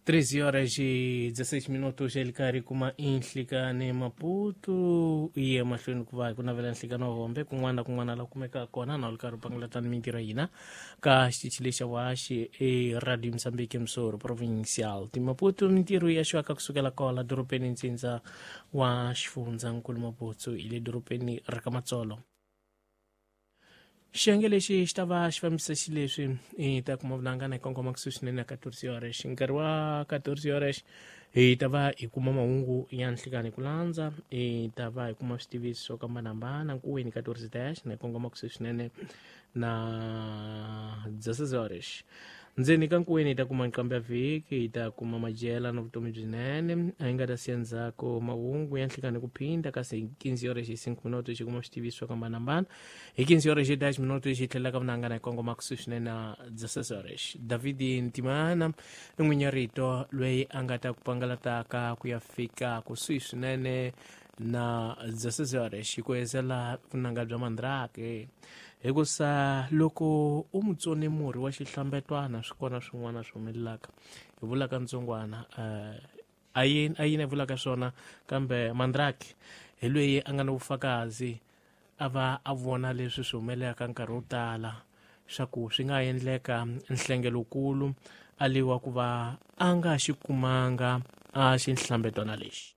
13 horas e 16 minutos ele karhi kuma inhlikani Maputo yi ya mahlweni ku va hi ku navela nhlikani wa hombe kun'wana na kun'wana la kumekaka kona na u ri karhi u pangulatani mintirho ya hina ka xitichi lexa waxi e Radio Mozambique Msoro Provincial ti Maputo. Mintirho ya xwaka kusukela kola dorobeni ntsindza wa xifundzankulu Maputo hi le dorobeni ra ka Matsolo. Xiyenge lexi xi ta va xi fambisa xileswi hi ta kuma vunangana hi kongoma kusuhi swinene na 14 horas. Nkarhi wa 14 horas hi ta va hi kuma mahungu ya nhlikani hi ku landza, hi ta va hi kuma switiviso swo hambanahambana nkuweni 14 dash na hi kongoma kusuhi swinene na 16 horas. Ndzeni ka nkuweni hi ta kuma nqambi ya vhiki, hi ta kuma madyela na vutomi byinene, a hi nga ta siya ndzhaku mahungu ya nhlikani ku phinda, kasi hi 15 horas hi 5 minuto xi kuma switiviso swo hambanahambana. Hi 15 horas hi 10 minuto xi tlhelela ka vunangana hi kongoma kusuhi swinene na 16 horas. David Ntimana i n'winyi rito loyi a nga ta ku pangalataka ku ya fika kusuhi swinene na 16 horas hi ku hezela vunanga bya Mandrake, hikusa loko u mu tsone murhi wa xihlambetwana swi kona swin'wana swi humelelaka hi vulaka ntsongwana a yini a yini vulaka swona, kambe Mandrake hi loyi a nga na vufakazi a va a vona leswi swi humelelaka nkarhi wo tala swa ku swi nga endleka nhlengelokulu a liwa ku va a nga xi kumanga a xihlambetwana lexi.